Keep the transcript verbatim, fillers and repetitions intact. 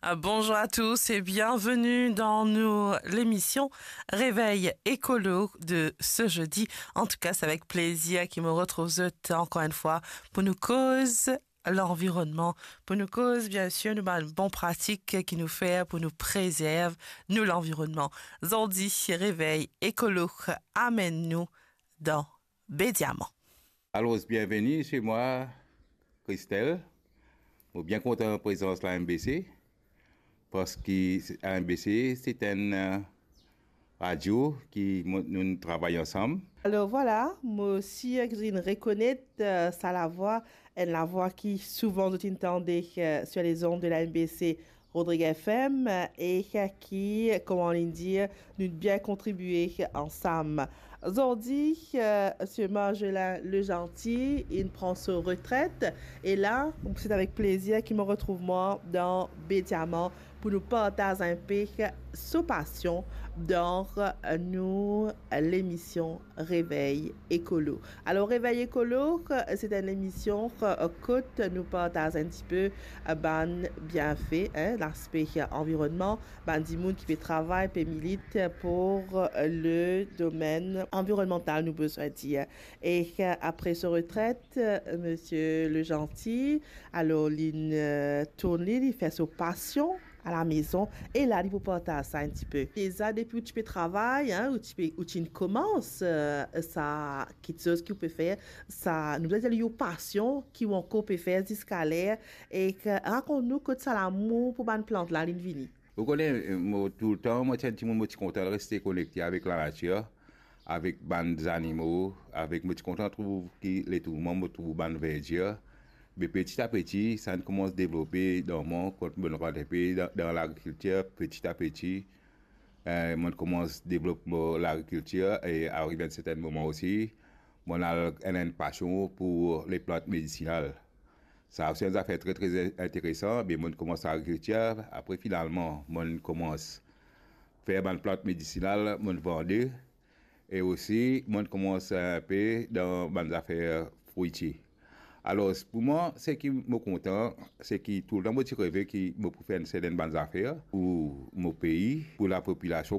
Ah, bonjour à tous et bienvenue dans nos, l'émission Réveil Écolo de ce jeudi. En tout cas, c'est avec plaisir ki mo retrouv zot encore une fois pou nou koz lanvironnman, pou nou koz, bien sûr, nou bann bon pratik ki nou fer pou nou prezerv nou lanvironnman. Zordi, Réveil Écolo amenn nou dan Baie Diamant. Alors, bienvenue chez moi, Christelle. Mo bien kontan prezans la M B C, parski la M B C, se enn, euh, radio ki mo-, nou travay ansam. Alors voilà, mo sir ki zot inn rekonet, euh, sa lavwa, enn lavwa ki souvan zot inn tande, euh, sur les ondes de la M B C Rodrigues F M, euh, e, euh, ki, kouma nou dir, nou bien kontribie ansam. Zordi, euh, Monsieur Margelin Legentil, inn pran so retret, e la, se avek plezir ki mo retrouv mwa dan Baie Diamant pou nou partaz inpe so pasion dan, euh, nou lemision Réveil Écolo. Alors, Réveil Écolo, euh, se enn lemision, euh, kot nou partaz enn tipe, euh, bann bienfe, hein, laspe, euh, anvironnman, bann dimoun ki pe travay, pe milit pou, euh, le domenn anvironmantal, nou bizin dir. E, euh, apre so retret, euh, Monsieur Legentil, alors, linn, euh, tourn li, li fer so pasion a la maison, e la, li pou partaz sa enn tipe. Deza, depi ou ti pe travay, hein, ou ti pe, ou ti inn koumans, euh, sa kiksoz ki ou pe fer, sa, nou bizin dir li ou pasion ki ou ankor pe fer ziska ler, e ki, rakont nou kot sa lamour pou bann plant la, linn vini. Ou kone, mo toultan, mo ti enn dimoun, mo ti kontan reste konekte avek lanatir, avek bann zanimo, avek, mo ti kontan trouv ki letour mwa, mo trouv bann verdir. Me peti a peti, sa inn koumans devlope dan mwa, kot mo rant inpe dan, dan lagrikiltir, peti a peti, eh, mo koumans devlop mo lagrikiltir, e ariv enn sertenn moman osi, mo al enn, enn pasion pou leplant medisinal. Sa osi enn zafer tre, tre interesan, me mo koumans lagrikiltir, apre finalman, mo koumans fer bann plant medisinal, mo vande, e osi, mo koumans inpe dan bann zafer frwiti. Alor, pou mwa, seki mo kontan, seki toultan mo ti reve ki mo pou fer enn sertenn bann zafer pou mo pei, pou lapopilasion,